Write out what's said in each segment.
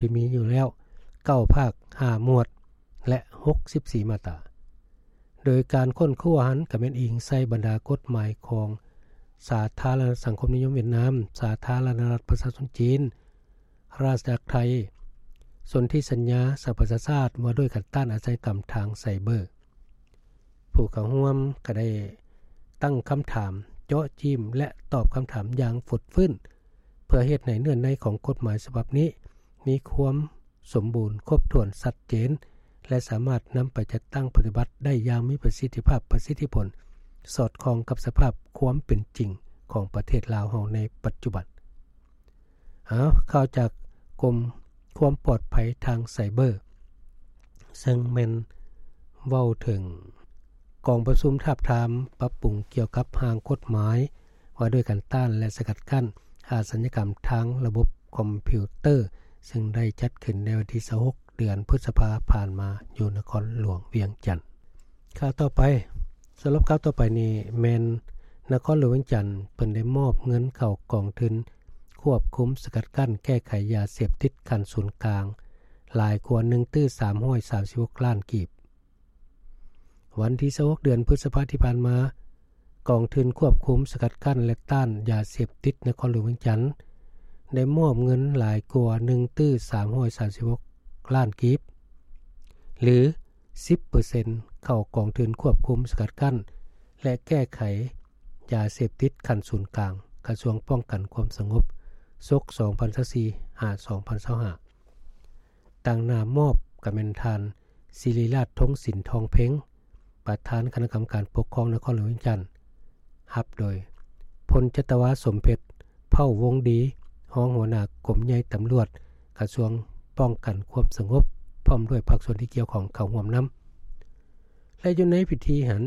ທີ່ມີຢູ່ແລ້ວເກົ້າພາກຫ້າໝວດ ແລະ ຫົກສິບສີ່ມາດຕາ. ໂດຍການຄົ້ນຄວ້າຫັ້ນກໍແມ່ນອີງໃສ່ບັນດາກົດໝາຍຂອງສາທາລະນະລັດສັງຄົມນິຍົມຫວຽດນາມ, ສາທາລະນະລັດປະຊາຊົນຈີນ, ລາຊະອານາຈັກໄທ, ສົນທິສັນຍາສະຫະປະຊາຊາດວ່າດ້ວຍການຕ້ານອາຊະຍາກຳທາງໄຊເບີ. ຜູ້ເຂົ້າຮ່ວມກໍໄດ້ຕັ້ງຄຳຖາມເຈາະຈີ້ມ ແລະ ຕອບຄຳຖາມຢ່າງຟົດຟື້ນ ເພື່ອເຮັດໃຫ້ເນື້ອໃນຂອງກົດໝາຍສະບັບນີ້ມີຄວາມສົມບູນ, ຄົບຖ້ວນ, ຊັດເຈນ ແລະ ສາມາດນຳໄປຈັດຕັ້ງປະຕິບັດໄດ້ຢ່າງມີປະສິດທິພາບ, ປະສິດທິຜົນ, ສອດຄ່ອງກັບສະພາບຄວາມເປັນຈິງຂອງປະເທດລາວເຮົາໃນປັດຈຸບັນ. ເອົາ ຂ່າວຈາກກົມຄວາມປອດໄພທາງໄຊເບີ ເຊິ່ງແມ່ນເວົ້າເຖິງກອງປະຊຸມທາບທາມປັບປຸງກ່ຽວກັບຮ່າງກົດໝາຍວ່າດ້ວຍການຕ້ານ ແລະ ສະກັດກັ້ນອາຊະຍາກຳທາງລະບົບຄອມພິວເຕີ ເຊິ່ງໄດ້ຈັດຂຶ້ນໃນວັນທີຊາວຫົກ ເດືອນພຶດສະພາຜ່ານມາ ຢູ່ນະຄອນຫຼວງວຽງຈັນ. ຂ່າວຕໍ່ໄປ, ສຳລັບຂ່າວຕໍ່ໄປນີ້ແມ່ນນະຄອນຫຼວງວຽງຈັນ ເພິ່ນໄດ້ມອບເງິນເຂົ້າກອງທຶນຄວບຄຸມສະກັດກັ້ນແກ້ໄຂຢາເສບຕິດຂັ້ນສູນກາງ ຫຼາຍກວ່າໜຶ່ງຕື້ສາມຮ້ອຍສາມສິບຫົກລ້ານກີບ. ວັນທີຊາວຫົກ ເດືອນພຶດສະພາທີ່ຜ່ານມາ, ກອງທຶນຄວບຄຸມສະກັດກັ້ນ ແລະ ຕ້ານຢາເສບຕິດນະຄອນຫຼວງວຽງຈັນ ໄດ້ມອບເງິນຫຼາຍກວ່າໜຶ່ງຕື້ສາມຮ້ອຍສາມສິບຫົກລ້ານກີບ ຫຼື ສິບເປີເຊັນ ເຂົ້າກອງທຶນຄວບຄຸມສະກັດກັ້ນ ແລະ ແກ້ໄຂຢາເສບຕິດຂັ້ນສູນກາງ ກະຊວງປ້ອງກັນຄວາມສະຫງົບ ສົກ ສອງພັນຊາວສີ່ ຫາ ສອງພັນຊາວຫ້າ. ຕາງໜ້າມອບກະແມ່ນທ່ານ ສິລິລາດ ທົງສິນທອງເພັງ ປະທານຄະນະກຳມະການປົກຄອງນະຄອນຫຼວງວຽງຈັນ, ຮັບໂດຍ ພົນຈັດຕະວາ ສົມເພັດ ເຜົ່າວົງດີ ຮອງຫົວໜ້າກົມໃຫຍ່ຕຳຫຼວດ ກະຊວງປ້ອງກັນຄວາມສະຫງົບ ພ້ອມດ້ວຍພາກສ່ວນທີ່ກ່ຽວຂ້ອງເຂົ້າຮ່ວມນຳ. ແລະ ຢູ່ໃນພິທີຫັ້ນ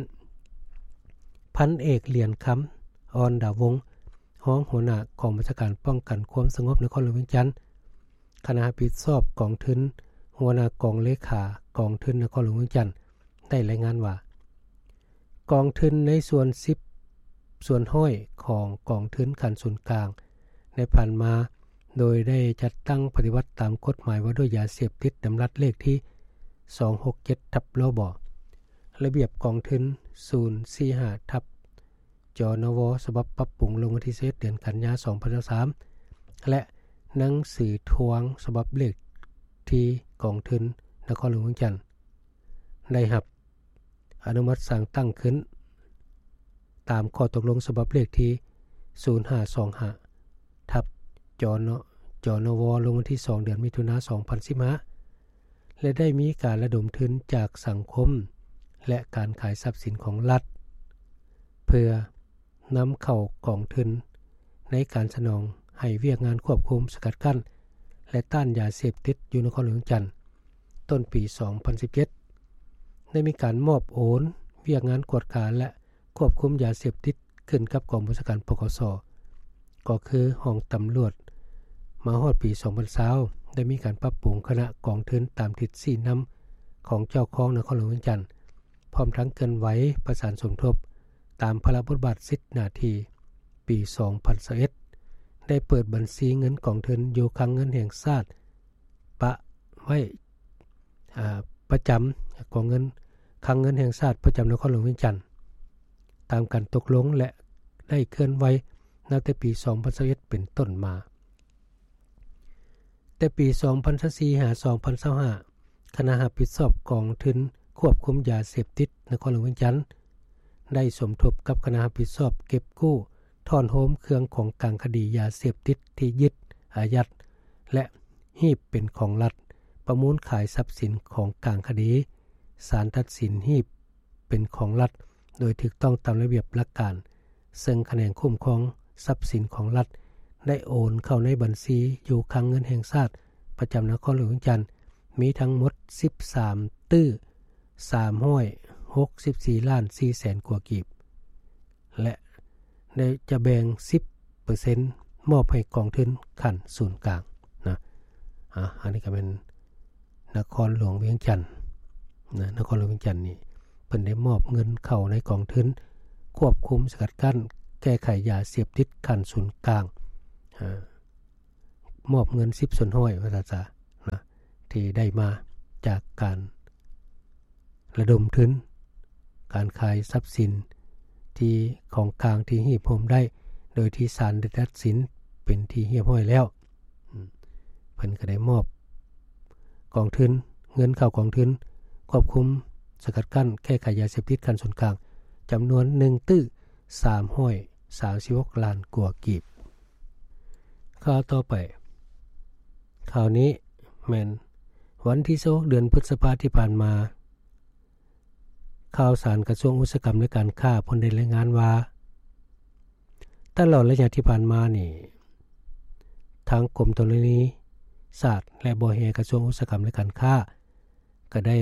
ພັນເອກ ຫຼຽນຄຳ ອ່ອນດາວົງ ຮອງຫົວໜ້າກອງບັນຊາການປ້ອງກັນຄວາມສະຫງົບນະຄອນຫຼວງວຽງຈັນ, ຄະນະຮັບຜິດຊອບກອງທຶນ, ຫົວໜ້າກອງເລຂາກອງທຶນນະຄອນຫຼວງວຽງຈັນ ໄດ້ລາຍງານວ່າ ກອງທຶນໃນສ່ວນສິບສ່ວນຮ້ອຍຂອງກອງທຶນຂັ້ນສູນກາງໃນຜ່ານມາ ໂດຍໄດ້ຈັດຕັ້ງປະຕິບັດຕາມກົດໝາຍວ່າດ້ວຍຢາເສບຕິດ ດຳລັດເລກທີສອງຫົກເຈັດ ທັບ ລບ ລະບຽບກອງທຶນສູນສີ່ຫ້າ ທັບ ຈນວ ສະບັບປັບປຸງລົງວັນທີຊາວເອັດ ເດືອນກັນຍາ ສອງພັນຊາວສາມ ແລະ ໜັງສືທວງສະບັບເລກທີກອງທຶນນະຄອນຫຼວງວຽງຈັນ ໄດ້ຮັບອະນຸມັດສັ່ງຕັ້ງຂຶ້ນ ຕາມຂໍ້ຕົກລົງສະບັບເລກທີສູນຫ້າສອງຫ້າ ທັບ ຈນ ຈນວ ລົງວັນທີສອງ ເດືອນມິຖຸນາ ສອງພັນສິບຫ້າ ແລະ ໄດ້ມີການລະດົມທຶນຈາກສັງຄົມ ແລະ ການຂາຍຊັບສິນຂອງລັດ ເພື່ອນຳເຂົ້າກອງທຶນໃນການສະໜອງໃຫ້ວຽກງານຄວບຄຸມ, ສະກັດກັ້ນ ແລະ ຕ້ານຢາເສບຕິດຢູ່ນະຄອນຫຼວງວຽງຈັນ. ຕົ້ນປີສອງພັນສິບເຈັດ ໄດ້ມີການມອບໂອນວຽກງານກວດກາ ແລະ ຄວບຄຸມຢາເສບຕິດຂຶ້ນກັບກອງບັນຊາການ ປກສ ກໍຄືຫ້ອງຕຳຫຼວດ. ມາຮອດປີສອງພັນຊາວ ໄດ້ມີການປັບປຸງຄະນະກອງທຶນຕາມທິດຊີ້ນຳຂອງເຈົ້າຄອງນະຄອນຫຼວງວຽງຈັນ, ພ້ອມທັງເຄື່ອນໄຫວປະສານສົມທົບຕາມພາລະບົດບາດສິດໜ້າທີ່. ປີສອງພັນຊາວເອັດ ໄດ້ເປີດບັນຊີເງິນກອງທຶນຢູ່ຄັງເງິນແຫ່ງຊາດປະໄວ້ ອາ ປະຈຳກອງເງິນ ຄັງເງິນແຫ່ງຊາດປະຈຳນະຄອນຫຼວງວຽງຈັນ ຕາມການຕົກລົງ ແລະ ໄດ້ເຄື່ອນໄຫວນັບແຕ່ປີສອງພັນຊາວເອັດ ເປັນຕົ້ນມາ. ແຕ່ປີສອງພັນຊາວສີ່ ຫາ ສອງພັນຊາວຫ້າ ຄະນະຮັບຜິດຊອບກອງທຶນຄວບຄຸມຢາເສບຕິດນະຄອນຫຼວງວຽງຈັນ ໄດ້ສົມທົບກັບຄະນະຮັບຜິດຊອບເກັບກູ້ ທ້ອນໂຮມເຄື່ອງຂອງກາງຄະດີຢາເສບຕິດທີ່ຍຶດ, ອາຍັດ ແລະ ຮີບເປັນຂອງລັດ, ປະມູນຂາຍຊັບສິນຂອງກາງຄະດີ, ສານຕັດສິນຮີບເປັນຂອງລັດໂດຍຖືກຕ້ອງຕາມລະບຽບຫຼັກການ, ເຊິ່ງຂະແໜງຄຸ້ມຄອງຊັບສິນຂອງລັດ ໄດ້ໂອນເຂົ້າໃນບັນຊີຢູ່ຄັງເງິນແຫ່ງຊາດປະຈຳນະຄອນຫຼວງວຽງຈັນ ມີທັງໝົດສິບສາມຕື້ສາມຮ້ອຍຫົກສິບສີ່ລ້ານສີ່ແສນກວ່າກີບ ແລະ ໄດ້ຈະແບ່ງສິບເປີເຊັນມອບໃຫ້ກອງທຶນຂັ້ນສູນກາງນະ. ອາ ອັນນີ້ກໍແມ່ນນະຄອນຫຼວງວຽງຈັນນະ, ນະຄອນຫຼວງວຽງຈັນນີ້ເພິ່ນໄດ້ມອບເງິນເຂົ້າໃນກອງທຶນຄວບຄຸມສະກັດກັ້ນແກ້ໄຂຢາເສບຕິດຂັ້ນສູນກາງ, ອາ ມອບເງິນສິບສ່ວນຮ້ອຍ ວ່າຊັ້ນຊະ. ທີ່ໄດ້ມາຈາກການລະດົມທຶນ, ການຂາຍຊັບສິນທີ່ຂອງກາງທີ່ຮວບຮວມໄດ້ ໂດຍທີ່ສານໄດ້ຕັດສິນເປັນທີ່ຮຽບຮ້ອຍແລ້ວ. ເພິ່ນກໍໄດ້ມອບກອງທຶນ, ເງິນເຂົ້າກອງທຶນຄວບຄຸມ, ສະກັດກັ້ນ, ແກ້ໄຂຢາເສບຕິດຂັ້ນສູນກາງ ຈຳນວນໜຶ່ງຕື້ສາມຮ້ອຍສາມສິບຫົກລ້ານກວ່າກີບ. ຂ່າວຕໍ່ໄປ, ຂ່າວນີ້ແມ່ນວັນທີຊາວຫົກ ເດືອນພຶດສະພາທີ່ຜ່ານມາ, ຂ່າວສານກະຊວງອຸດສາຫະກຳ ແລະ ການຄ້າເພິ່ນໄດ້ລາຍງານວ່າ ຕະຫຼອດໄລຍະທີ່ຜ່ານມານີ້ ທາງກົມທໍລະນີສາດ ແລະ ບໍ່ແຮ່ ກະຊວງອຸດສາຫະກຳ ແລະ ການຄ້າ ກໍໄດ້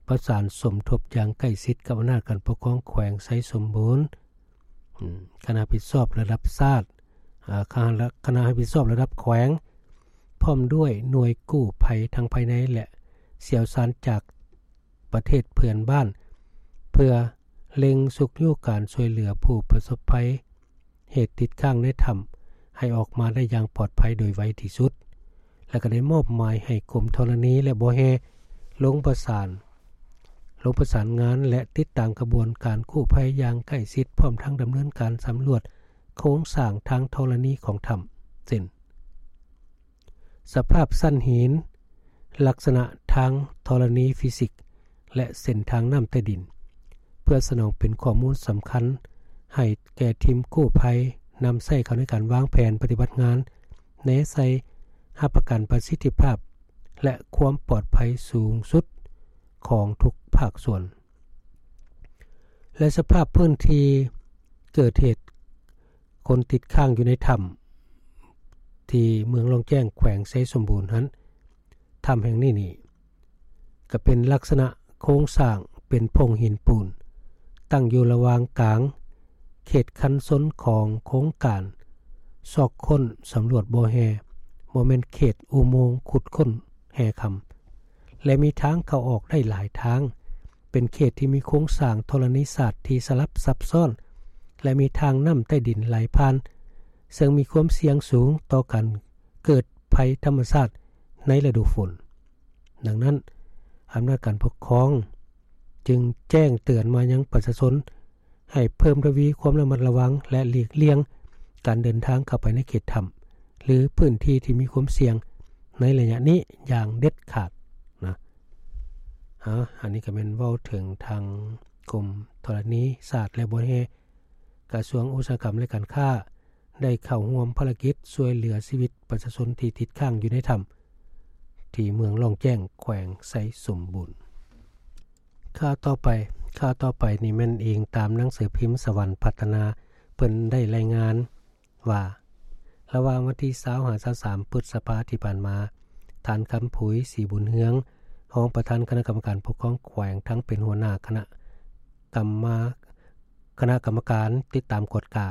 ປະສານສົມທົບຢ່າງໃກ້ຊິດກັບອຳນາດການປົກຄອງແຂວງໄຊສົມບູນ, ຄະນະຮັບຜິດຊອບລະດັບຊາດ, ຄະນະ ຄະນະຮັບຜິດຊອບລະດັບແຂວງ, ພ້ອມດ້ວຍໜ່ວຍກູ້ໄພທັງພາຍໃນ ແລະ ຊ່ຽວຊານຈາກປະເທດເພື່ອນບ້ານ ເພື່ອເລັ່ງຊຸກຍູ້ການຊ່ວຍເຫຼືອຜູ້ປະສົບໄພ ເຫດຕິດຄ້າງໃນຖ້ຳໃຫ້ອອກມາໄດ້ຢ່າງປອດໄພໂດຍໄວທີ່ສຸດ ແລະ ກໍໄດ້ມອບໝາຍໃຫ້ກົມທໍລະນີ ແລະ ບໍ່ແຮ່ ລົງປະສານ, ລົງປະສານງານ ແລະ ຕິດຕາມຂະບວນການກູ້ໄພຢ່າງໃກ້ຊິດ ພ້ອມທັງດຳເນີນການສຳຫຼວດໂຄງສ້າງທາງທໍລະນີຂອງຖ້ຳ ເຊັ່ນ ສະພາບຊັ້ນຫີນ, ລັກສະນະທາງທໍລະນີຟີຊິກ ແລະ ເສັ້ນທາງນ້ຳໃຕ້ດິນ ເພື່ອສະໜອງເປັນຂໍ້ມູນສຳຄັນໃຫ້ແກ່ທີມກູ້ໄພ ນຳໃຊ້ເຂົ້າໃນການວາງແຜນປະຕິບັດງານ ແນໃສ່ຮັບປະກັນປະສິດທິພາບ ແລະ ຄວາມປອດໄພສູງສຸດຂອງທຸກພາກສ່ວນ ແລະ ສະພາບພື້ນທີ່ເກີດເຫດຄົນຕິດຄ້າງຢູ່ໃນຖ້ຳ ທີ່ເມືອງລ່ອງແຈ້ງ ແຂວງໄຊສົມບູນຫັ້ນ, ຖ້ຳແຫ່ງນີ້ນີ້ ກໍເປັນລັກສະນະໂຄງສ້າງເປັນໂພງຫີນປູນ ຕັ້ງຢູ່ລະຫວ່າງກາງເຂດຄັນຊົນຂອງໂຄງການຊອກຄົ້ນສຳຫຼວດບໍ່ແຮ່, ບໍ່ແມ່ນເຂດອຸໂມງຂຸດຄົ້ນແຮ່ຄຳ ແລະ ມີທາງເຂົ້າອອກໄດ້ຫຼາຍທາງ, ເປັນເຂດທີ່ມີໂຄງສ້າງທໍລະນີສາດທີ່ສະຫຼັບຊັບຊ້ອນ ແລະ ມີທາງນ້ຳໃຕ້ດິນໄຫຼຜ່ານ, ເຊິ່ງມີຄວາມສ່ຽງສູງຕໍ່ການເກີດໄພທຳມະຊາດໃນລະດູຝົນ. ດັ່ງນັ້ນ, ອຳນາດການປົກຄອງຈຶ່ງແຈ້ງເຕືອນມາຍັງປະຊາຊົນ ໃຫ້ເພີ່ມທະວີຄວາມລະມັດລະວັງ ແລະ ຫຼີກລ່ຽງການເດີນທາງເຂົ້າໄປໃນເຂດຖ້ຳ ຫຼື ພື້ນທີ່ທີ່ມີຄວາມສ່ຽງໃນໄລຍະນີ້ຢ່າງເດັດຂາດນະ. ອາ ອັນນີ້ກໍແມ່ນເວົ້າເຖິງທາງກົມທໍລະນີສາດ ແລະ ບໍ່ແຮ່ ກະຊວງອຸດສາຫະກຳ ແລະ ການຄ້າ ໄດ້ເຂົ້າຮ່ວມພາລະກິດຊ່ວຍເຫຼືອຊີວິດປະຊາຊົນທີ່ຕິດຄ້າງຢູ່ໃນຖ້ຳ ທີ່ເມືອງລ່ອງແຈ້ງ ແຂວງໄຊສົມບູນ. ຂ່າວຕໍ່ໄປ, ຂ່າວຕໍ່ໄປນີ້ແມ່ນອີງຕາມໜັງສືພິມສະຫວັນພັດທະນາ ເພິ່ນໄດ້ລາຍງານວ່າ ລະຫວ່າງວັນທີຊາວຫາຊາວສາມ ພຶດສະພາທີ່ຜ່ານມາ, ທ່ານ ຄຳຜຸຍ ສີບຸນເຮືອງ ຮອງປະທານຄະນະກຳມະການປົກຄອງແຂວງ ທັງເປັນຫົວໜ້າຄະນະກຳມະ, ຄະນະກຳມະການຕິດຕາມກວດກາ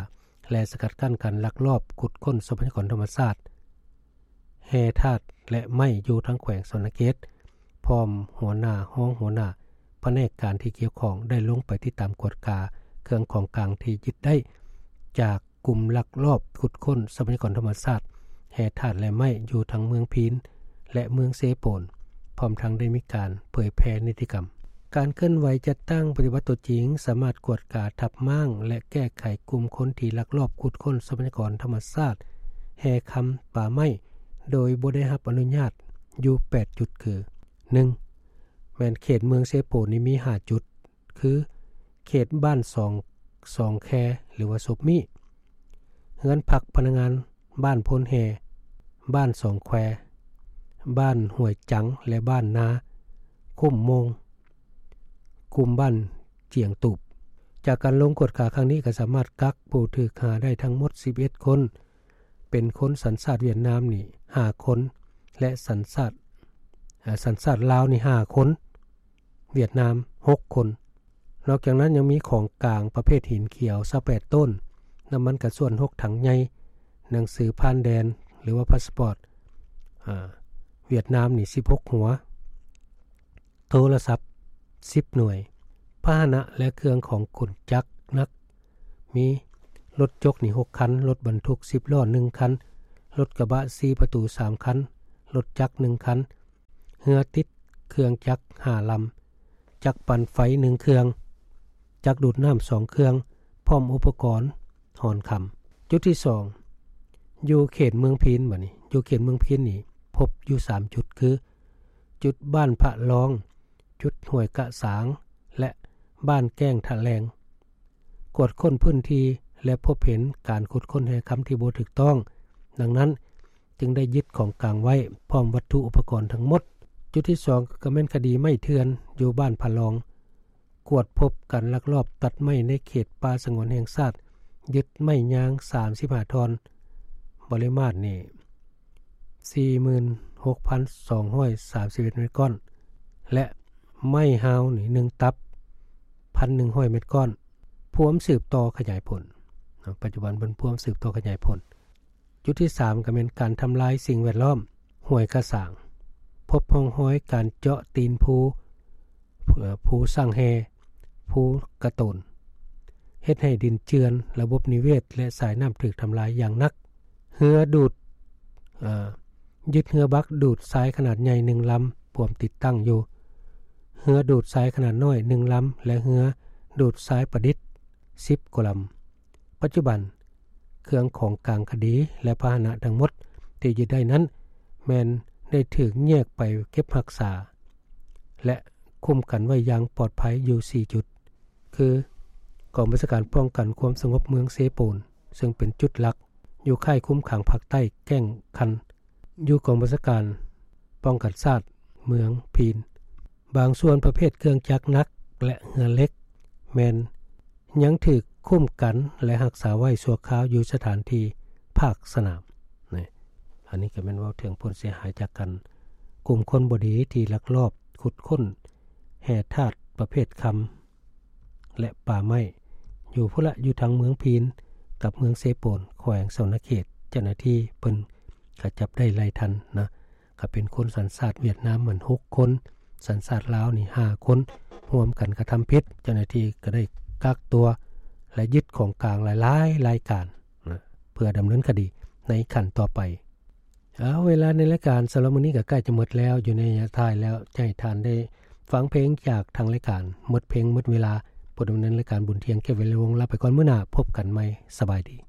ແລະ ສະກັດກັ້ນການລັກລອບຂຸດຄົ້ນຊັບພະຍາກອນທຳມະຊາດ ແຮ່ທາດ ແລະ ໄມ້ຢູ່ທາງແຂວງສະຫວັນນະເຂດ ພ້ອມຫົວໜ້າ, ຮອງຫົວໜ້າພະແນກການທີ່ກ່ຽວຂ້ອງ ໄດ້ລົງໄປຕິດຕາມກວດກາເຄື່ອງຂອງກາງທີ່ຍຶດໄດ້ຈາກກຸ່ມລັກລອບຂຸດຄົ້ນຊັບພະຍາກອນທຳມະຊາດ ແຮ່ທາດ ແລະ ໄມ້ ຢູ່ທັງເມືອງພີນ ແລະ ເມືອງເຊໂປນ, ພ້ອມທັງໄດ້ມີການເຜີຍແຜ່ນິຕິກຳ. ການເຄື່ອນໄຫວຈັດຕັ້ງປະຕິບັດຕົວຈິງ ສາມາດກວດກາ, ທັບມ້າງ ແລະ ແກ້ໄຂກຸ່ມຄົນທີ່ລັກລອບຂຸດຄົ້ນຊັບພະຍາກອນທຳມະຊາດ, ແຮ່ຄຳ, ປ່າໄມ້ ໂດຍບໍ່ໄດ້ຮັບອະນຸຍາດຢູ່ແປດຈຸດ ຄື ໜຶ່ງ ແມ່ນເຂດເມືອງເຊໂປນນີ້ມີຫ້າຈຸດ ຄື ເຂດບ້ານສອງ, ສອງແຄ ຫຼືວ່າສົບມີ້, ເຮືອນພັກພະນັກງານ ບ້ານໂພນແຮ່, ບ້ານສອງແຄ, ບ້ານຫ້ວຍຈັງ ແລະ ບ້ານນາຄຸ້ມໂມງ, ກຸ່ມບ້ານຈຽງຕູບ. ຈາກການລົງກວດກາຄັ້ງນີ້ ກໍສາມາດກັກຜູ້ຖືກຫາໄດ້ທັງໝົດສິບເອັດຄົນ, ເປັນຄົນສັນຊາດຫວຽດນາມນີ້ຫ້າຄົນ ແລະ ສັນຊາດ, ເອີ່, ສັນຊາດລາວນີ້ຫ້າຄົນ, ຫວຽດນາມຫົກຄົນ. ນອກຈາກນັ້ນຍັງມີຂອງກາງປະເພດຫີນຂຽວຊາວແປດໂຕນ, ນ້ຳມັນກະຊວນຫົກຖັງໃຫຍ່, ໜັງສືຜ່ານແດນ ຫຼືວ່າພາສປອດ, ອາ, ຫວຽດນາມນີ້ສິບຫົກຫົວ, ໂທລະສັບສິບໜ່ວຍ, ພາຫະນະ ແລະ ເຄື່ອງຂອງຂົນຈັກໜັກ ມີລົດຈົກນີ້ຫົກຄັນ, ລົດບັນທຸກສິບລໍ້ໜຶ່ງຄັນ, ລົດກະບະສີ່ປະຕູສາມຄັນ, ລົດຈັກໜຶ່ງຄັນ, ເຮືອຕິດເຄື່ອງຈັກຫ້າລຳ, ຈັກປັ່ນໄຟໜຶ່ງເຄື່ອງ, ຈັກດູດນ້ຳສອງເຄື່ອງ ພ້ອມອຸປະກອນຫອນຄຳ. ຈຸດທີສອງ ຢູ່ເຂດເມືອງພີນ. ບັດນີ້ຢູ່ເຂດເມືອງພີນນີ້ ພົບຢູ່ສາມຈຸດ ຄື ຈຸດບ້ານພະລອງ, ຈຸດຫ້ວຍກະສາງ ແລະ ບ້ານແກ້ງທະແລງ. ກວດຄົ້ນພື້ນທີ່ ແລະ ພົບເຫັນການຂຸດຄົ້ນແຮ່ຄຳທີ່ບໍ່ຖືກຕ້ອງ, ດັ່ງນັ້ນຈຶ່ງໄດ້ຍຶດຂອງກາງໄວ້ ພ້ອມວັດຖຸອຸປະກອນທັງໝົດ. ຈຸດທີສອງ ກໍແມ່ນຄະດີໄມ້ເຖື່ອນຢູ່ບ້ານພະລອງ. ກວດພົບການລັກລອບຕັດໄມ້ໃນເຂດປ່າສະຫງວນແຫ່ງຊາດ, ຍຶດໄມ້ຍາງສາມສິບຫ້າທ່ອນ, ປະລິມານນີ້ ສີ່ໝື່ນຫົກພັນສອງຮ້ອຍສາມສິບເອັດເມັດກ້ອນ ແລະ ໄມ້ຮາວນີ້ ໜຶ່ງຕັບ ພັນໜຶ່ງຮ້ອຍເມັດກ້ອນ. ພວມສືບຕໍ່ຂະຫຍາຍຜົນ. ເນາະ ປັດຈຸບັນເພິ່ນພວມສືບຕໍ່ຂະຫຍາຍຜົນ. ຈຸດທີສາມ ກໍແມ່ນການທຳລາຍສິ່ງແວດລ້ອມ ຫ້ວຍກະສາງ. ພົບຮ່ອງຮອຍການເຈາະຕີນພູ, ເອີ່ ພູສ້າງແຮ່, ພູກະໂຕນ, ເຮັດໃຫ້ດິນເຈື່ອນ, ລະບົບນິເວດ ແລະ ສາຍນ້ຳຖືກທຳລາຍຢ່າງໜັກ. ເຮືອດູດ, ເອີ່, ຍຶດເຮືອບັກດູດຊາຍຂະໜາດໃຫຍ່ໜຶ່ງລຳ ພວມຕິດຕັ້ງຢູ່, ເຮືອດູດຊາຍຂະໜາດນ້ອຍໜຶ່ງລຳ ແລະ ເຮືອດູດຊາຍປະດິດສິບກວ່າລຳ. ປັດຈຸບັນ ເຄື່ອງຂອງກາງຄະດີ ແລະ ພາຫະນະທັງໝົດທີ່ຍຶດໄດ້ນັ້ນ ແມ່ນໄດ້ຖືກແຍກໄປເກັບຮັກສາ ແລະ ຄຸ້ມກັນໄວ້ຢ່າງປອດໄພຢູ່ສີ່ຈຸດ ຄື ກອງບັນຊາການປ້ອງກັນຄວາມສະຫງົບເມືອງເຊໂປນ ເຊິ່ງເປັນຈຸດຫຼັກຢູ່ຄ້າຍຄຸມຂັງພາກໃຕ້ແກ້ງຄັນ ຢູ່ກອງບັນຊາການປ້ອງກັນຊາດເມືອງພີນ. ບາງສ່ວນປະເພດເຄື່ອງຈັກໜັກ ແລະ ເຮືອເຫຼັກ ແມ່ນຍັງຖືກຄຸ້ມກັນ ແລະ ຮັກສາໄວ້ຊົ່ວຄາວຢູ່ສະຖານທີ່ພາກສະໜາມ. ນີ້ ອັນນີ້ກໍແມ່ນເວົ້າເຖິງຜົນເສຍຫາຍຈາກການກຸ່ມຄົນບໍ່ດີທີ່ລັກລອບຂຸດຄົ້ນແຮ່ທາດປະເພດຄຳ ແລະ ປ່າໄມ້ ຢູ່ພຸ້ນລະ ຢູ່ທາງເມືອງພີນກັບເມືອງເຊໂປນ ແຂວງສະຫວັນນະເຂດ. ເຈົ້າໜ້າທີ່ເພິ່ນກໍຈັບໄດ້ຫຼາຍທ່ານນະ, ກໍເປັນຄົນສັນຊາດຫວຽດນາມມັນຫົກຄົນ, ສັນຊາດລາວນີ້ຫ້າຄົນ, ຮ່ວມກັນກະທຳຜິດ. ເຈົ້າໜ້າທີ່ກໍໄດ້ກັກຕົວ ແລະ ຍຶດຂອງກາງຫຼາຍໆລາຍການນະ ເພື່ອດຳເນີນຄະດີໃນຂັ້ນຕໍ່ໄປ. ເອົາ ເວລາໃນລາຍການສຳລັບມື້ນີ້ກໍໃກ້ຈະໝົດແລ້ວ, ຢູ່ໃນໄລຍະທ້າຍແລ້ວ ຈະໃຫ້ທ່ານໄດ້ຟັງເພງຈາກທາງລາຍການ. ໝົດເພງໝົດເວລາ, ຜູ້ດຳເນີນລາຍການ ບຸນທ່ຽງ ເກດ ວິໄລວົງ ລາໄປກ່ອນ, ມື້ໜ້າພົບກັນໃໝ່. ສະບາຍດີ.